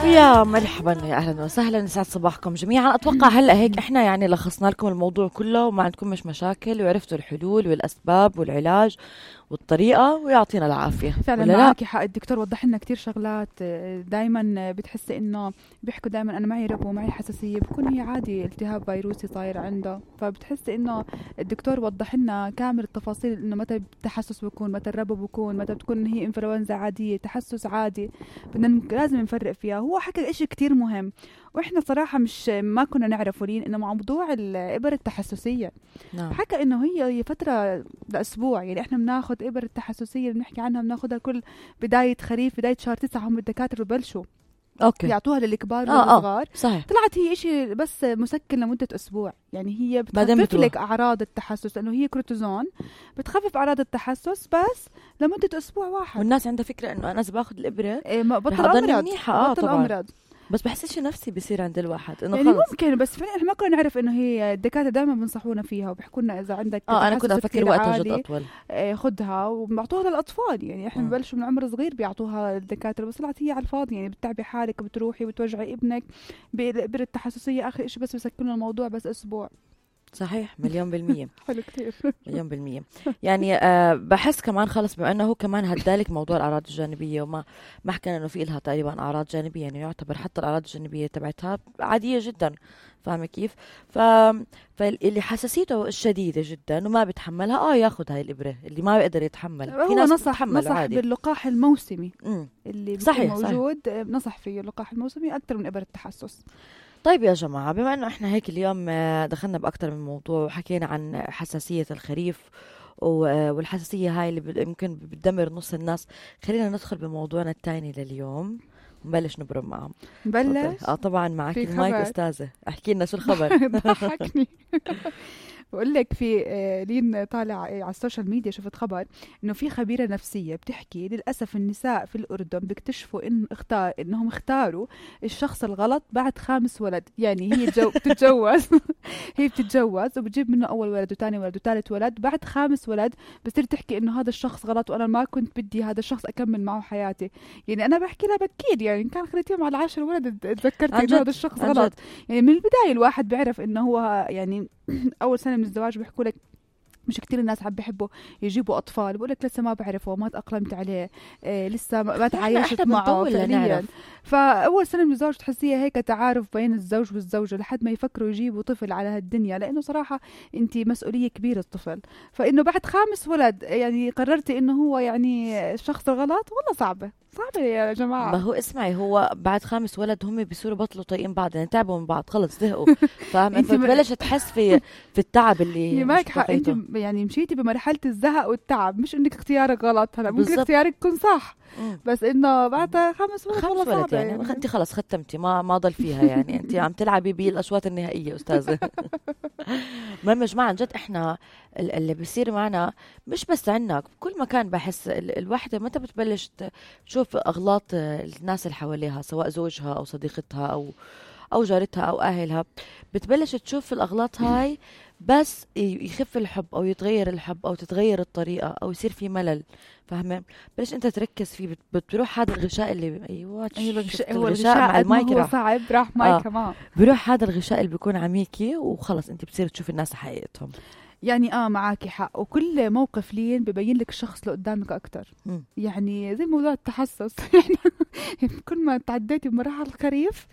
يا مرحبا، يا اهلا وسهلا، يسعد صباحكم جميعا. اتوقع هلا هيك احنا يعني لخصنا لكم الموضوع كله وما عندكم مش مشاكل، وعرفتوا الحلول والاسباب والعلاج والطريقه، ويعطينا العافيه. فعلا معك حق. الدكتور وضح لنا كتير شغلات. دايما بتحسي انه بيحكوا دايما انا معي ربو ومعي حساسيه، بكون هي عادي التهاب فيروسي صاير عنده. فبتحسي انه الدكتور وضح لنا كامل التفاصيل، انه متى التحسس بيكون، متى الربو بيكون، متى بتكون هي انفلونزا عاديه، تحسس عادي، بدنا لازم نفرق فيها. هو حكى اشي كتير مهم واحنا صراحه ما كنا نعرفه لين انه موضوع الابر التحسسيه. نعم. حكى انه هي فتره لاسبوع، يعني احنا بناخذ ابر التحسسيه اللي بنحكي عنها بناخذها كل بدايه خريف، بدايه شهر 9 هم الدكاتره ببلشوا يعطوها للكبار والصغار. صحيح. طلعت هي إشي بس مسكن لمده اسبوع، يعني هي بتخفف لك اعراض التحسس، لانه هي كورتيزون بتخفف اعراض التحسس بس لمده اسبوع واحد. والناس عندها فكره انه انا اذا باخذ الابره بطل امرض. بطل امرض، بس بحس شيء نفسي بيصير عند الواحد انه يعني ممكن، بس فعلا احنا ما كنا نعرف انه هي الدكاتره دائما بنصحونا فيها وبيحكوا لنا اذا عندك انا كنت افكر وقتها جد اطول خدها، وبيعطوها للاطفال. يعني احنا ببلشوا من عمر صغير بيعطوها الدكاتره، بس طلعت هي على الفاضي، يعني بتتعبي حالك، بتروحي وتوجعي ابنك بالابر التحسسيه. اخر شيء بس بيسكنوا الموضوع بس اسبوع. صحيح، 1,000,000%. حلو كتير. 1,000,000%. يعني بحس كمان خلص بما انه هو كمان هدالك موضوع الاعراض الجانبيه، وما حكينا انه في لها تقريبا اعراض جانبيه، يعني يعتبر حتى الاعراض الجانبيه تبعتها عاديه جدا، فاهمه كيف؟ فاللي حساسيته الشديده جدا وما بيتحملها ياخذ هاي الابره، اللي ما بيقدر يتحمل. في ناس نصح باللقاح الموسمي اللي صحيح موجود. صحيح. نصح فيه اللقاح الموسمي اكثر من ابر التحسس. طيب يا جماعة، بما أنه إحنا هيك اليوم دخلنا بأكتر من موضوع وحكينا عن حساسية الخريف والحساسية هاي اللي يمكن بتدمر نص الناس، خلينا ندخل بموضوعنا الثاني لليوم ونبلش نبرم معهم. نبلش؟ طبعا معك المايك أستاذة، احكي لنا شو الخبر. ضحكني. بقول لك في لين طالع على السوشيال ميديا شفت خبر انه في خبيره نفسيه بتحكي للاسف النساء في الاردن بيكتشفوا انهم اختاروا الشخص الغلط بعد 5 ولد. يعني هي بتتجوز هي بتتجوز وبتجيب منه اول ولد وثاني ولد وثالث ولد، بعد 5 ولد بتصير تحكي انه هذا الشخص غلط وانا ما كنت بدي هذا الشخص اكمل معه حياتي. يعني انا بحكي لها بكير، يعني كان خليتيهم على 10 ولد تذكرت انه هذا الشخص غلط. يعني من البدايه الواحد بيعرف انه هو يعني اول سنه من الزواج بيحكوا لك مش كتير الناس عم بيحبوا يجيبوا اطفال، بقول لك لسه ما بعرفه وما تاقلمت عليه، لسه ما تعايشت معه فعليا. فاول سنه من الزواج تحسيها هيك تعارف بين الزوج والزوجه لحد ما يفكروا يجيبوا طفل على هالدنيا، لانه صراحه انت مسؤوليه كبيره الطفل. فانه بعد 5 ولد يعني قررتي انه هو يعني الشخص الغلط، والله صعبه يا جماعه. ما هو اسمعي، هو بعد 5 ولد هم بيصيروا بطلوا طايقين بعض، يعني تعبوا من بعض خلص زهقوا. فاهم؟ فبلش تحس في التعب اللي معك حق. انت يعني مشيتي بمرحله الزهق والتعب، مش انك اختيارك غلط. هلا ممكن اختيارك يكون صح، بس انه بعد 5 ولد والله صعب. يعني انت خلص ختمتي، ما ضل فيها. يعني انت عم تلعبي بالاشواط النهائيه استاذه. ما مش عن جد احنا اللي بيصير معنا مش بس عنا، بكل مكان. بحس الوحده متى بتبلش تشوف اغلاط الناس اللي حواليها، سواء زوجها او صديقتها او جارتها او اهلها، بتبلش تشوف الاغلاط هاي بس يخف الحب او يتغير الحب او تتغير الطريقه او يصير في ملل. فاهمه؟ بلش انت تركز فيه، بتروح هذا الغشاء اللي هو الغشاء مع المايك هو صعب، راح مايك كمان بيروح هذا الغشاء اللي بيكون عميكي، وخلص انت بتصير تشوف الناس حقيقتهم. يعني معاكي حق. وكل موقف لين ببين لك الشخص اللي قدامك اكتر. يعني زي موضوع التحسس. كل ما تعديتي بمراحل الخريف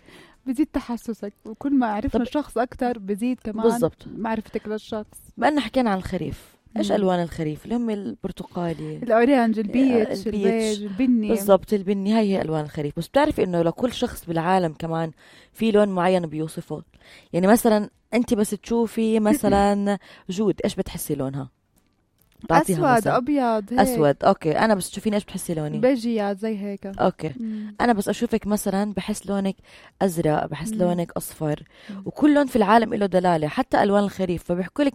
بزيد تحسسك، وكل ما عرفنا الشخص اكتر بزيد كمان بالزبط معرفتك للشخص. بقى حكينا عن الخريف، ايش الوان الخريف؟ اللي هم البرتقالي، الاورانج، البيتش، البيج، البني. بالضبط، البني. هي الوان الخريف. بس بتعرفي انه لكل شخص بالعالم كمان في لون معين بيوصفه. يعني مثلا انت بس تشوفي مثلا جود، ايش بتحسي لونها؟ اسود مثلاً. ابيض هيك. اسود، اوكي. انا بس تشوفيني ايش بتحسي لوني؟ بيجيات زي هيك. اوكي. انا بس اشوفك مثلا بحس لونك ازرق، بحس لونك اصفر. وكل لون في العالم له دلاله، حتى الوان الخريف. فبيحكوا لك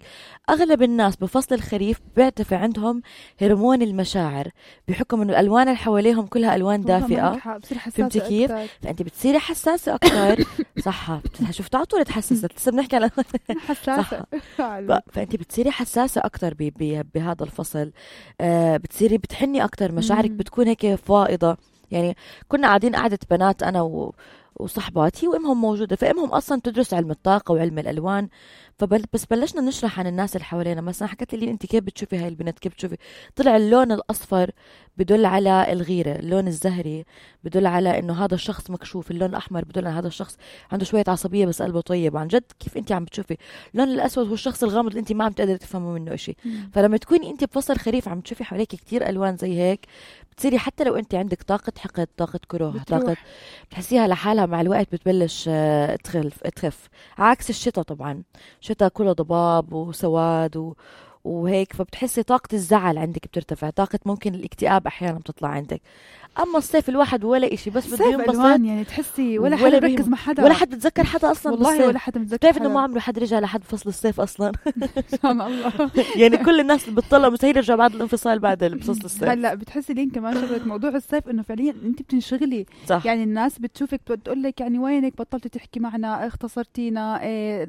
اغلب الناس بفصل الخريف بيرتفع عندهم هرمون المشاعر، بيحكم انه الالوان اللي حواليهم كلها الوان دافئه. فهمتي كيف؟ فانت بتصيري حساسه اكثر. صح، شفت على طول تحسست. لسه بنحكي على حساسه. فانت بتصيري حساسه اكثر بهذا الفصل. بتصيري بتحني اكتر، مشاعرك بتكون هيك فائضة. يعني كنا قاعدين قعدة بنات انا وصحبات هي وامهم موجوده، فامهم اصلا تدرس علم الطاقه وعلم الالوان. بس بلشنا نشرح عن الناس اللي حوالينا، مثلا حكت لي انت كيف بتشوفي هاي البنت، كيف بتشوفي؟ طلع اللون الاصفر بدل على الغيره، اللون الزهري بدل على انه هذا الشخص مكشوف، اللون الاحمر بدل على هذا الشخص عنده شويه عصبيه بس قلبه طيب. عن جد كيف انت عم بتشوفي؟ اللون الاسود هو الشخص الغامض اللي انت ما عم تقدري تفهمي منه شيء. فلما تكوني انت بفصل خريف عم تشوفي حواليك كتير الوان زي هيك، بتصيري حتى لو انت عندك طاقه حقد، طاقه كره، طاقه، بتحسيها لحالها مع الوقت بتبلش تخف. عكس الشتاء طبعا، الشتاء كله ضباب وسواد وهيك، فبتحسي طاقة الزعل عندك بترتفع، طاقة ممكن الاكتئاب أحيانا بتطلع عندك. أما الصيف الواحد ولا إشي، بس بده ينبسط يعني تحسي ولا حدا بركز مع حدا، ولا حد بتذكر حدا أصلا والله بالصيف. ولا حدا بتذكر بتعرف إنه ما عمره حد رجع لحد فصل الصيف أصلا. سبحان الله. يعني كل الناس اللي بتطلع مستحيل يرجع بعد الانفصال بعد فصل الصيف. هلا بتحسي لين كمان شغلة موضوع الصيف إنه فعليا أنت بتنشغلي، صح. يعني الناس بتشوفك بتقول لك يعني وينك، بطلتي تحكي معنا، اختصرتينا،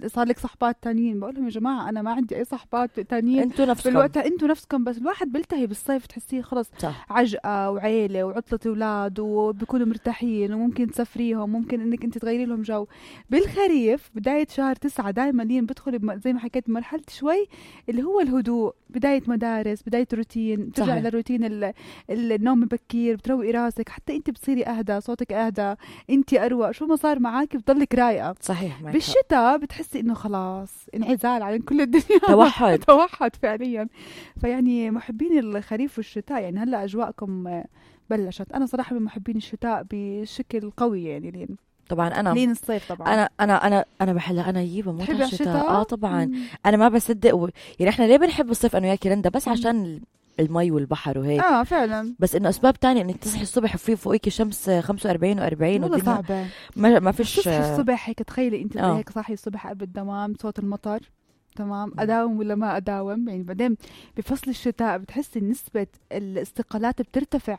صار لك صحبات تانيين. بقول لهم يا جماعة أنا ما عندي أي صحبات تانيين، انتوا نفسكم بالوقت انتوا نفسكم، بس الواحد بيلتهي بالصيف، تحسيه خلص صح. عجقة وعيلة وعطلة أولاد وبيكونوا مرتاحين وممكن تسافريهم، ممكن انك انت تغيري لهم جو. بالخريف بداية شهر 9 دائما لين بدخل زي ما حكيت مرحلة شوي اللي هو الهدوء، بداية مدارس، بداية روتين، ترجع للروتين النوم بكير، بتروقي راسك، حتى انت بتصيري اهدى، صوتك اهدى، انت اروق، شو ما صار معك بتضلك رايقة. صحيح. بالشتاء بتحسي انه خلاص انعزال عن كل الدنيا، توحد. توحد فعليا. فيعني محبين الخريف والشتاء، يعني هلا اجواءكم بلشت. انا صراحه من محبين الشتاء بشكل قوي، يعني لين طبعا انا لين الصيف طبعا انا بحلها، انا يجيبها موت تحبي الشتاء. طبعا انا ما بصدق يعني احنا ليه بنحب الصيف انا وياكي رندا؟ بس عشان المي والبحر وهيك. فعلا. بس انه اسباب تانية انك تصحي الصبح وفي فوقيكي شمس 45 و40 والله صعبه، ما فيش. تصحي الصبح هيك، تخيلي انت هيك صاحي الصبح قبل الدوام، صوت المطر، تمام، اداوم ولا ما اداوم؟ يعني بعدين بفصل الشتاء بتحسي نسبه الاستقالات بترتفع،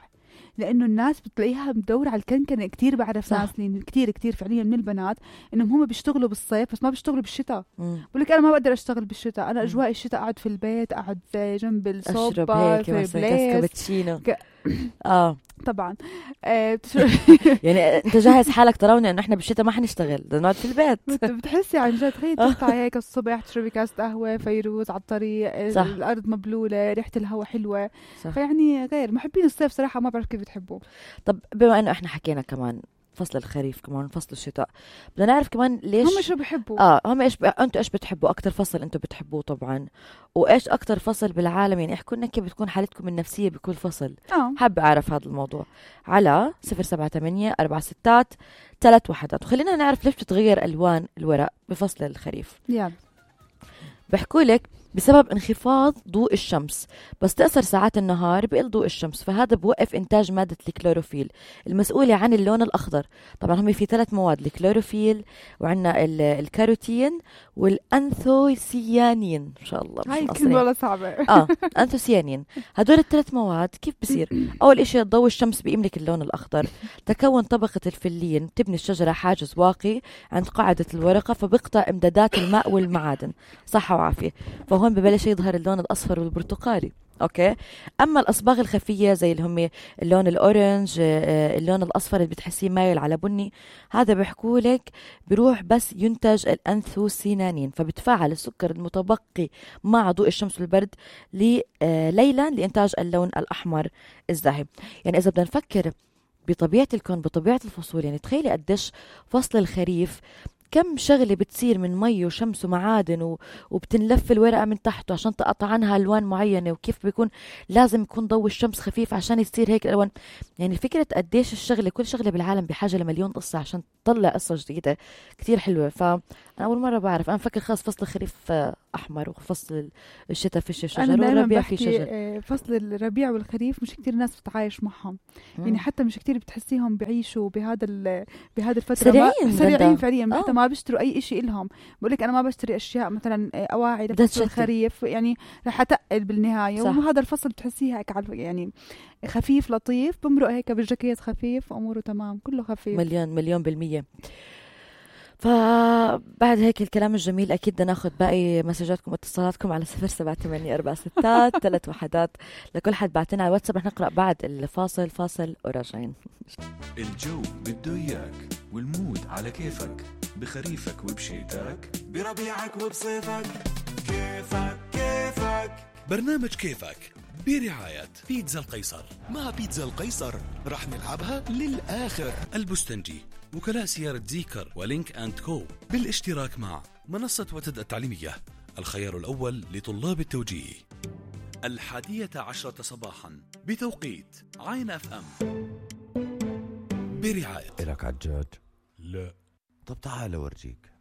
لانه الناس بتلاقيها مدورة على الكنكنة. كتير بعرف ناس كتير فعليا من البنات انهم هم بيشتغلوا بالصيف بس ما بيشتغلوا بالشتاء. بقول لك انا ما بقدر اشتغل بالشتاء، انا اجواء الشتاء اقعد في البيت، اقعد جنب الصوبة في كابتشينو. طبعا يعني انت جاهز حالك تروني انه احنا بالشتاء ما حنشتغل، بدنا نقعد في البيت. بتحسي عن جد تخيل تطلعي هيك الصبح تشربي كاس قهوه، فيروز على الطريق، الارض مبلوله، ريحه الهواء حلوه. فيعني غير محبين الصيف صراحه، ما بعرف كيف بتحبوه. طب بما انه احنا حكينا كمان فصل الخريف كمان فصل الشتاء، بدنا نعرف كمان ليش هم شو بحبوا. هم انتوا ايش بتحبوا اكتر فصل انتوا بتحبوه طبعا، وايش اكتر فصل بالعالم؟ يعني احكوا لنا كيف بتكون حالتكم النفسيه بكل فصل. حابه اعرف هذا الموضوع على 078 46 31. وخلينا نعرف ليش بتتغير الوان الورق بفصل الخريف. بحكوا لك بسبب انخفاض ضوء الشمس، بس تأثر ساعات النهار بقل ضوء الشمس، فهذا بوقف إنتاج مادة الكلوروفيل المسؤولة عن اللون الأخضر. طبعا هم في 3 مواد، الكلوروفيل وعندنا الكاروتين والأنثوسيانين. إن شاء الله هاي الكلمة والله صعبة. أنثوسيانين. هدول ال3 مواد كيف بصير؟ أول إشي ضوء الشمس بيملك اللون الأخضر، تكون طبقة الفلين بتبني الشجرة حاجز واقي عند قاعدة الورقة، فبقطع إمدادات الماء والمعادن، صحة وعافية، فهون ببلش يظهر اللون الأصفر والبرتقالي. أوكي. أما الأصباغ الخفية زي اللي هم اللون الأورنج، اللون الأصفر اللي بتحسيه مايل على بني، هذا بيحكوا لك بروح بس ينتج الأنثوسيانين، فبتفاعل السكر المتبقي مع ضوء الشمس والبرد ليلا لإنتاج اللون الأحمر الزاهي. يعني إذا بدنا نفكر بطبيعة الكون، بطبيعة الفصول، يعني تخيلي قديش فصل الخريف كم شغلة بتصير من مي وشمس ومعادن وبتنلف الورقة من تحته عشان تقطع عنها ألوان معينة، وكيف بيكون لازم يكون ضوء الشمس خفيف عشان يصير هيك الألوان. يعني فكرة قديش الشغلة، كل شغلة بالعالم بحاجة لمليون قصة عشان تطلع قصة جديدة كتير حلوة. فأنا أول مرة بعرف، أنا فكر خاص فصل الخريف أحمر وفصل الشتاء فيش شجر والربيع في شجر. فصل الربيع والخريف مش كتير ناس بتعايش معهم، يعني حتى مش كتير بتحسيهم بعيشوا بهذا الفترة. سريعين فعليا، حتى ما بيشتروا أي إشي إلهم. بقولك أنا ما بشتري أشياء مثلا أواعي لفصل الخريف، يعني رح أتقل بالنهاية. وهذا الفصل بتحسيه هيك يعني خفيف لطيف، بمرق هيك بالجاكيت خفيف، أموره تمام، كله خفيف. مليون بالمية. فبعد هيك الكلام الجميل أكيد بدنا ناخذ باقي مسجاتكم واتصالاتكم على 078 46 31 لكل حد بعتنا على الواتساب. رح نقرأ بعد الفاصل وراجعين. الجو بده إياك والمود على كيفك، بخريفك وبشتاك، بربيعك وبصيفك، كيفك كيفك. برنامج كيفك برعاية بيتزا القيصر. مع بيتزا القيصر رح نلعبها للآخر. البستنجي، وكلاء سيارة زيكر ولينك أند كو، بالاشتراك مع منصة وتد التعليمية، الخيار الأول لطلاب التوجيه. 11:10 صباحا بتوقيت عين اف ام، برعاية. إلك عجاج؟ لا. طب تعال أورجيك.